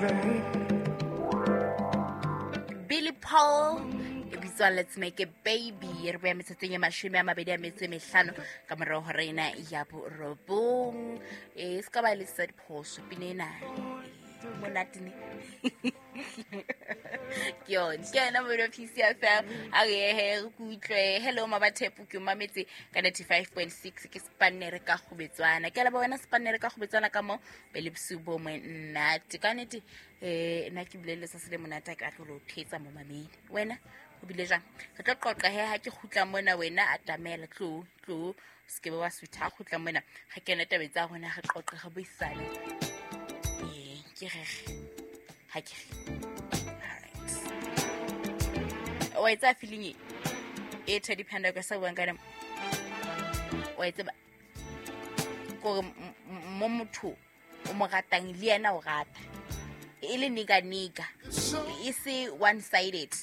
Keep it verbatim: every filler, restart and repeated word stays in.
baby. Billy Paul e bitswa Let's Make a Baby. Re boya metsotsong e mashome a mabedi a metso e mehlano ka morao ho rena ya borobong. E se ka ba le sa diphoso pina ena monate ne. Ke yone, ke yona mono P C F M. A re he re kutlwe. Hello Mabathepo, ke o mametse ka ninety-five point six, ke Spanere ka Kgobetswana. Ke a leboha wena Spanere ka Kgobetswana ka mo pele bosiu bo monate. Ka nnete, eh, nna ke bile le letsatsi le monate, ha ke batle ho thetsa mo mamedi. Wena o bile jwang? Re tlo qoqa he ha ke kgutla mona, wena atamela, tlo, tlo, se ke be wa sutha, ha kgutla mona. Re kene tabeng tsa rona, re qoqe, re buisane. Eh, ke re, ha ke re. All right. Wa e tseba feeling e? E Teddy Panda ka sa buang ka yona. Wa e tseba? Kore m-, m-, mo motho o mo ratang le yena o rata. E le nika nika. E se one sided.